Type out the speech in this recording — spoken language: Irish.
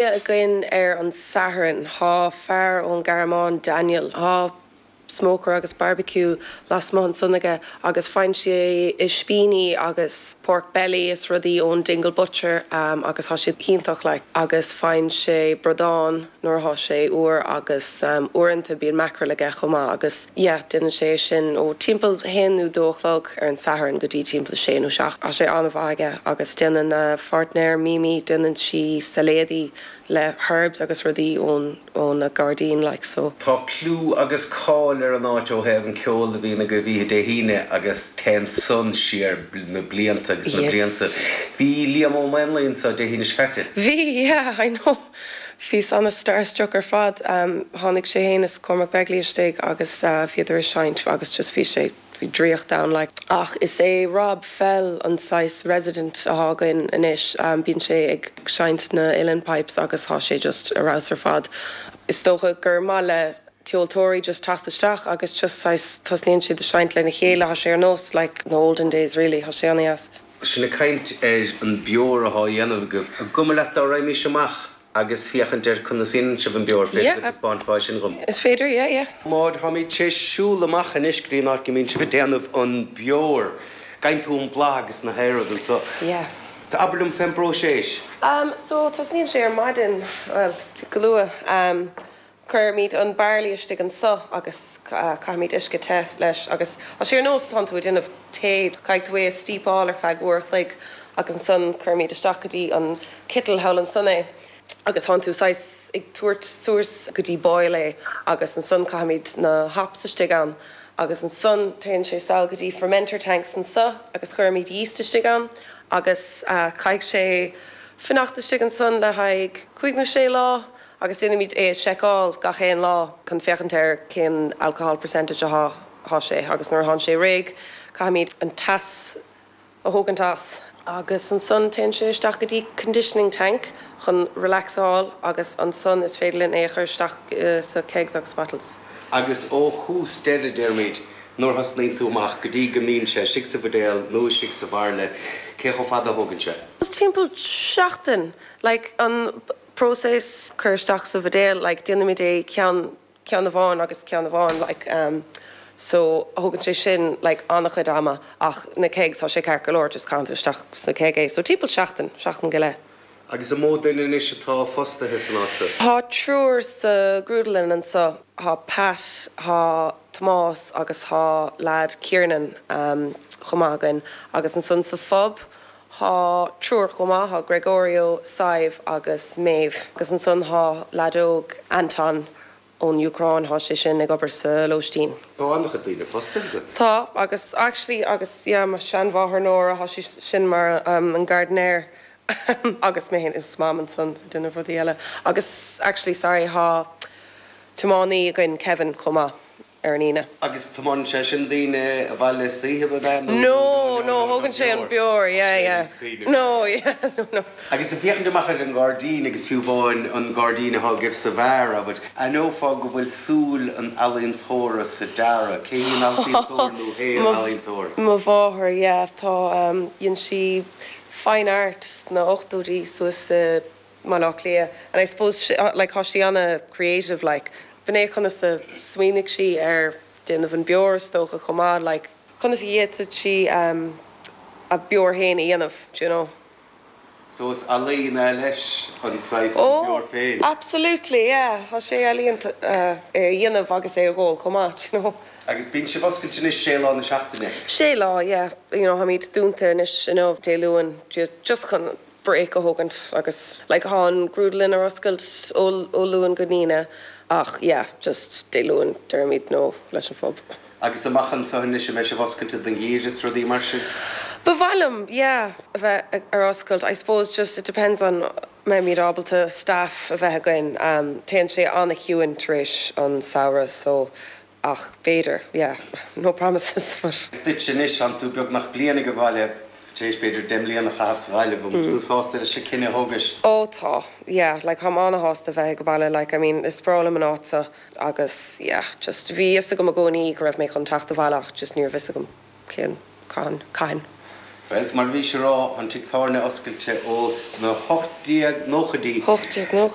Againn ar an Satharn. Thá fear ón Ghearmáin, Daniel, thá smoker agus barbecue lasmuigh ansan aige agus faigheann sé ispíní agus pork belly is rudaí ón Dingle Butcher agus thá siad iontach like agus faigheann sé bradán nuair athá sé úr agus uaireanta bíonn mackerel aige chomh maith agus yeah déanann sé é sin ó timpeall haon nó dó a chlog ar an Satharn go dtí timpeall a sé nó seacht. Tá sé an-mhaith aige agus déanann a pháirtnéir Mimi déanann sí sailéadaí le herbs agus rudaí ón óna gairdín like so. Tá clú agus cáil ar an áit ó thaobh an ceol a bhíonn agaibh oíche Dé hAoine agus téann san siar na blianta agus na blianta. Bhí Liam Ó Maonlaí anseo Dé hAoine seo caite. Bhí, yeah, I know. Bhíos ana-starstruck ar fad. Tháinig sé fhéin is Cormac Begley istigh agus bhíodar ag seinnt agus just bhí sé, bhí draíocht ann like. Ach is é Rob Fell an saghas resident athá againn anois. Bíonn sé ag seinnt na uilleann pipes agus thá sé just ar fheabhas ar fad. Is dócha gur maith le ceoltóirí just teacht isteach agus just saghas tosnaíonn siad ag seinnt lena chéile, thá sé ar nós like na olden days really, thá sé ana-dheas. Sinn ag caint ar an beoir athá á dhéanamh agaibh. An cuma leat dá raghaimís amach agus féachaint ar conas a dhéanann sibh an beoir, b'fhéidir go dtaispeánfá é sin dhom? Is féidir, yeah, yeah. Máire, táimid tar éis siúl amach anois go dtí an áit go mbíonn sibh ag déanamh an beoir. Gheibheann tú an bláth agus na haon rud anso. Yeah. Abair liom fén bpróiseas. So, tosnaíonn sé ar maidin, bhuel, go luath. Cuirimid an barley istigh anso agus caithimid uisce te leis agus tá sé ar nós tánn tú ag déanamh tae, caithfidh tú é a steepáil ar feadh uair a chloig agus ansan cuirimid isteach go dtí an kettle thall ansan é agus tánn tú saghas ag tabhairt suas go dtí boil é agus ansan caithimid na hops istigh ann agus ansan téann sé sall go dtí fermenter tanks anso agus cuirimid yeast istigh ann agus caithfidh sé fanacht istigh ansan le haghaidh cúig nó sé lá Agus déanaimid é a seiceáil gach aon lá chun féachaint ar cén alcohol percentage athá thá sé agus nuair athánn sé réidh caithfimid an teas a thógaint as. Agus ansan téann sé isteach go dtí conditioning tank chun relaxáil agus ansan is féidir linn é a chur isteach sa kegs agus bottles. Agus ó thús deireadh, déarfaimid, nuair a thosnaíonn tú amach go dtí go mbíonn sé istigh sa bhuidéal nó istigh sa bhairille, cé chomh fada a thógann sé? Timpeall seachtain, like an próiseas cur isteach sa bhuidéal like déanaimid é ceann ceann amháin agus ceann amháin like ehm so thógann sé sin like an-chuid ama ach na kegs tá sé ceart go leor just caitheann tú isteach sna keg é so timpeall seachtain, seachtain go leith. Agus an mó duine anois atá fostaithe san áit seo? Tá triúr sa ghrúdlann anso, tá Pat, tá Tomás agus tá lad Kiernan ehm chomh maith againn agus ansan sa phub Thá triúr chomh maith, thá Gregorio, Sadhbh agus Maeve. Agus ansan thá leaid óg, Anton, ón Úcráin, thá sé sin ag obair sa lóistín. Tá an-chuid daoine fostaithe agat. Tá, agus actually, agus yeah, mo sheanmháthair Nóra, thá sí sin mar an gardener agus mé féin is Mam ansan ag déanamh rudaí eile. Agus actually, sorry, thá tiománaí againn, Kevin, chomh maith. ar an Aoine. Agus tiomáineann sé sin daoine abhaile istoíche, ab ea? Nó No, no, thógann sé an beoir, yeah, yeah. No, yeah, no, no. Agus ag féachaint amach ar an ngairdín agus fiú amháin an gairdín atá agaibh sa bheár, abair, aithneofá go bhfuil súil an ealaíontóra sa dearadh. Cé hí an ealaíontóir nó hé an ealaíontóir? Mo mháthair, yeah. Tá, dhein sí fine art sna ochtóidí suas i mBaile Átha Cliath and I suppose like thá sí ana creative like b'in é conas a smaoinigh sí ar déanamh an beoir is dócha chomh maith like conas a d'fhéadfadh sí a beoir féin a dhéanamh do you know. So is ealaín é leis an saghas an beoir féin. Oh absolutely yeah thá sé ealaíonta é a dhéanamh agus é a dh'ól chomh maith do you know. Agus bíonn sibh oscailte anois sé lá na seachtaine? Sé lá yeah you know tháimid dúnta anois inniu Dé Luain just chun break a thógaint agus like thá an grúdlann ar oscailt ó ó Luan go hAoine ach yeah just Dé Luain deirimid no leis an phub. Agus amach anseo anois an mbeidh sibh oscailte don gheimhreadh is rudaí mar sin? Ba mhaith liom yeah a bheith ar oscailt I suppose just it depends on mbeimid ábalta staff a bheith againn téann sé an-chiúin tar éis an samhradh so Ach b'fhéidir, yeah, no promises but. Duit anois, tánn tú beagnach bliain ag an bhaile, tar éis b'fhéidir 10 mbliana a chaitheamh sa Ghaillimh, an bhfuil tú sásta leis an cinneadh a thógais? Ó tá, yeah, like táim ana-shásta bheith ag an baile, like I mean is breá liom an áit seo agus yeah, just bhí fhios agam i gcónaí go raibh mé chun teacht abhaile ach just ní raibh fhios agam cén, cathain, cathain. Bhuel, mar a bhís ag rá, an tigh tábhairne oscailte ós na 1890idí. 1890.